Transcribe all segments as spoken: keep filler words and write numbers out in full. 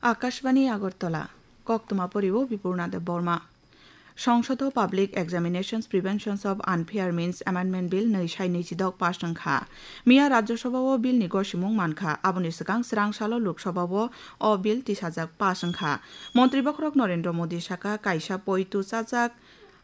Akashbani Agartala, koktwma poriwo Bipurna Debbarma. Songsodo Public Examinations Preventions of Unfair Means Amendment Bill nwi sai nwi chidok pass wngkha. Miya Rajya Sabha o bill ni gosimung mankha, aboni swkang swrang salo Lok Sabha o o bill tisajak pass wngkha. Montri bokhorok Narendra Modi saka kaisa poitu chajak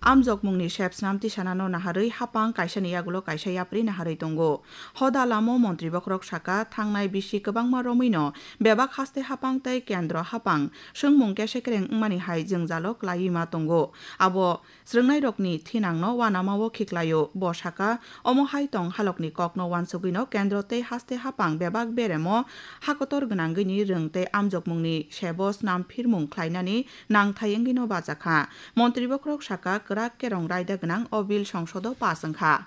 amjokmungni sepsnam tisanano naharwi hapang kaisani yagulo kaisa yapri naharwi tongo. Hoda lamo montri bokhorok saka, thangnai bisi kwbangma romwino bebak haste hapang tei kendro hapang swngmung kesekreng wngmani hai jwngjalo klaiwi ma tongo. Abo swrwngnairokni thinangno uanamao khiklaio. Bo saka, omo hai tong halokni kokno uansugwino kendro tei haste hapang bebak beremo hakotor gwnangwini rwng tei amjokmungni sebo snam phirmung khlainani nangthai wngwino bajakha. Montri bokhorok saka, kwrak kerong raida gwnang o bill songsodo pass wngkha.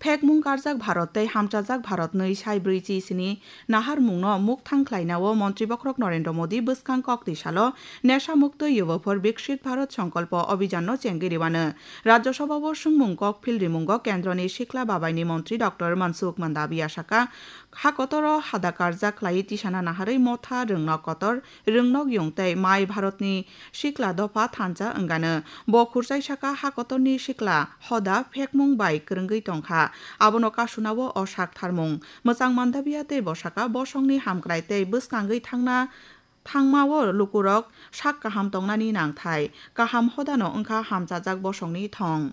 Phekmung karjak Bharat tei hamchajak Bharat nwi sai brwi chi sini naharmungno mukthang khlainao Montri bokhorok Narendra Modi bwskang kokti salo Nesha Mukto Yuva for Viksit Bharat Sankalpa Abhijanno chengwi rwano. Rajya Sabha o swngmung kok phil rimungo Kendroni Sikla Babaini Montri Doctor Mansukh Mandaviya saka, ha kotoro hada karjak khlaiwi tisana naharwi motha rwngnok kotor, rwngnok yung tei mai Bharatni sikla dopha thansa wngano. Bo khurchai saka ha kotorni sikla hoda phekmung bai kwrwngwi tongkha. Abono kasunao o sak tharmung. Mwchang Mandaviya tei bo saka bosongni hamkrai tei bwskangwi thangna, thangmao lukurok sak kaham tongnani nangthai. Kaham hodano wngkha hamchajak bosongni thong.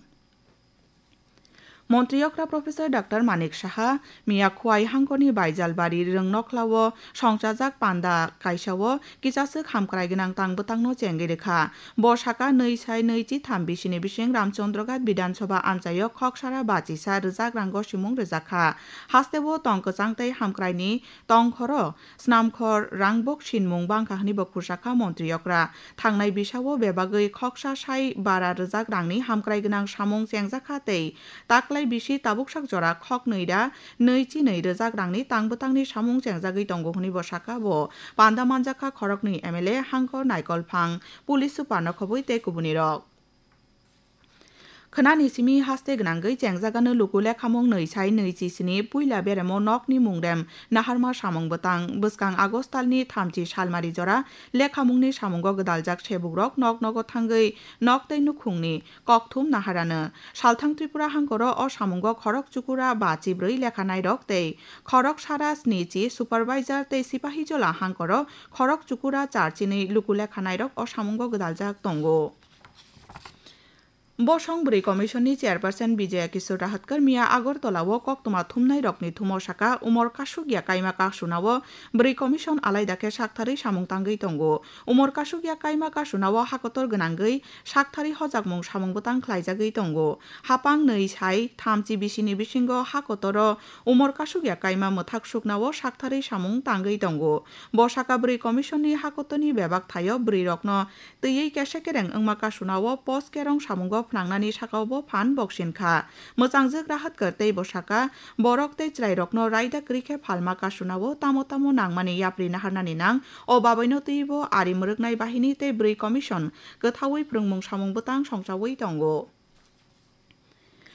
Montri okra Professor Doctor Manik Saha miya Khwai hangkoni Baijalbari Rwngnokhlao songchajak panda kaisao kisaswk hamkrai gwnang tang bwtangno chengwi rwkha. Bo saka nwi sai nwi chi tham bisini bising Ramchandraghat Bidhan Sabha amchaio khoksara bachisa rwjak rang gosimung rwjakha. Hasteo tong kwchang tei hamkraini tongkhoro snamkhor rangbok sinmung bangkha hwnwi bo khursa kha montri okra. Thangnai bisao bebagwi khoksa sai bara rwjak rangni hamkrai gwnang samung chengjakha tei taklai bisi tabuksak jora khoknwi ra nwi chi nwi rwjak rangni tang bwtangni samung chengjagwi tongo hwnwi bo sakha. Bo panda manjakha khoroknwi M L A, hangkor naikolphang, police super no khobwi tei kubunirok. Khwnani simi haste gwnangwi chengjagano luku lekhamung nwi sai nwi chi sini puila beremo nokni mungrem naharma samung bwtang. Bwskang August talni thamchi salmari jora lekhamungni samungo gwdaljak sebukrok nok nogo thangwi nok tei nukhungni kokthum naharano. Salthang Tripura hangkoro o samungo khorok chukura ba chibrwi lekhanairok tei khorok sara sni chi supervisor tei sipahijola hangkoro khorok chukura char chinwi luku lekhanairok o samungo gwdaljak tongo. Bosong Bwrwi Commission ni Chairperson Bijaya Kishore Rahatkar miya Agartala o koktwma thumnai rokni thumo saka, umor kasuk ya kaima kasunao Bwrwi Commission alaida khe saktharwi samung tangwi tongo. Umor kasuk ya kaima kasunao hakotor gwnangwi saktharwi hojakmung samung bwtang khlaijagwi tongo. Hapang nwi sai thamchi bisini bisingo hakotoro umor kasuk ya kaima mwthak suknao saktharwi samung tangwi tongo. Bo saka Bwrwi Commission ni hakotorni bebak thaio bwrwi rokno twiwi kesa kereng wngma kasunao post kerong samungo phnangnani sakao bo phan boksin kha. Mwchangjwk Rahatkar tei bo saka, borok tei chwrairokno raida kwrwi khe phalma kasunao tamo tamo nangmani yapri naharnani nang, o babaino twiwi bo ari mwrwknai bahini tei Bwrwi Commission kwthaui phrwngmung samung bwtang songchaui tongo.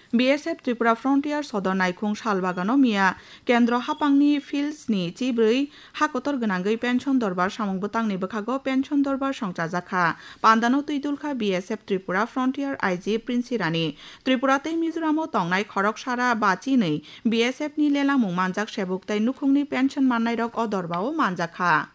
B S F Tripura Frontier Sodor Naikhung Salbagano miya Kendro hapangni field sni chibrwi hakotor gwnangwi pension dorbar samung bwtangni bwkhago pension dorbar songchajakha. Pandano twidulkha B S F Tripura Frontier I G Prince Rani. Tripura tei Mizoramo tongnai khoroksara bachinwi B S F ni lelamung manjak sebuk tei nukhungni pension mannairok o dorbao manjakha.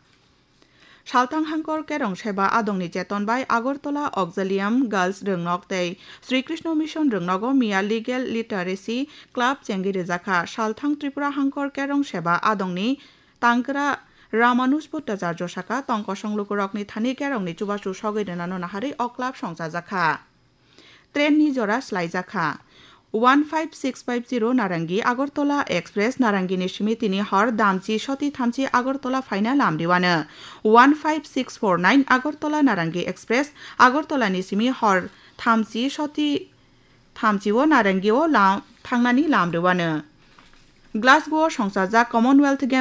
Salthang Hangkor Kerong Seba Adongni Cheton bai Agartala Auxilium Girls Rwngnok tei Sri Krishna Mission Rwngnogo miya Legal Literacy Club chengwi rwjakha. Salthang Tripura Hangkor Kerong Seba Adongni Tangkra Ramanuj Bhattacharya saka, tong kosong lukurokni thani kerongni chubachu sogwi rwnano naharwi o club songchajakha. Train ni jora slaijakha. One five six five zero Narangi Agartala Express, Narangini simi tini hor damchi soti thamchi Agartala phaina lamriwano. One five six four nine Agartala Narangi Express, Agartala ni simi hor thamchi soti thamchi o Narangi o lam, thangnani lamriwano. Glasgow o songchajak Commonwealth Games